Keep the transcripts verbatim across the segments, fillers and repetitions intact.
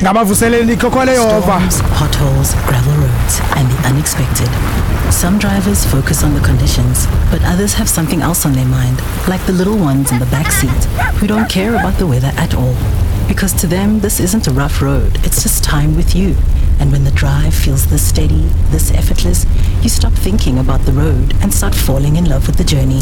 Ngabavuseleli ikhokhole Yehova. Storms, potholes, gravel roads, and the unexpected. Some drivers focus on the conditions, but others have something else on their mind, like the little ones in the back seat who don't care about the weather at all. Because to them, this isn't a rough road, it's just time with you. And when the drive feels this steady, this effortless, you stop thinking about the road and start falling in love with the journey.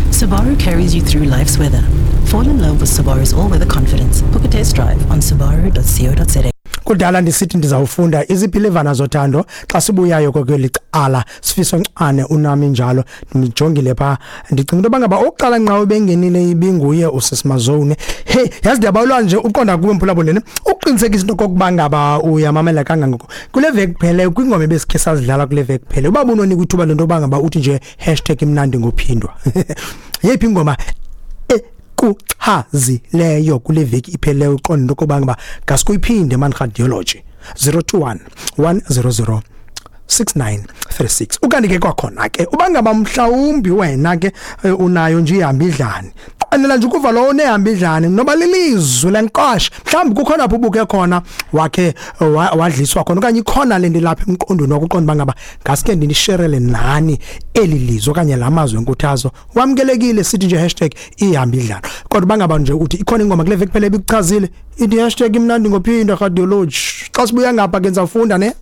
Subaru carries you through life's weather. Fall in love with Subaru's all-weather confidence. Book a test drive on subaru dot co dot za. Kudala ndisithi ndizawufunda izipilivana zothando xa sibuyayo kweli cala. Sifiso Ncane unami njalo, ndijongile pha, ndicinga into yoba ngaba okokuqala nqa ubengenile ibinguye uSisimazone. Hey, yazi, ndiyabawela nje uqonda kuwe, mphulaphuli, ukuqinisekisa into okokuba ngaba uyamamela kangangoko kule veki kuphele kwingoma ebesikhe sazidlala kule veki kuphele. Uba bunonika ithuba lento yoba ngaba uthi nje hashtag imnandi ngophindwa, yeyiphi ingoma ekuchazileyo kule veki ipheleyo, uqonda into yokoba ngaba ngasikuyiphinde man? Radiology zero two one, one zero zero six nine three six. Ukanti ke kwakhona ke, uba ngaba mhlawumbi wena ke eh, unayo nje ihamba idlane, qanela nje ukuva lowo unehamba idlane noba lilizwi lenkosh, mhlawumbi kukhona apho ubuke khona wakhe wa- wadliswa khona, okanye ikhona le nto ilapha emqondweni wakho, uqonda uba ngaba ngaske ndinisherele nani eli lizwi okanye la mazwi enkuthazo, wamkelekile. Sithi nje hashtag ihamba idlane. Kodwa uba ngaba nje uthi ikhona ingoma kule veki phela ebikuchazile, ithi hashtag imnandi ngophinda radiology. Xa sibuya ngapha ke, ndizawufunda ne.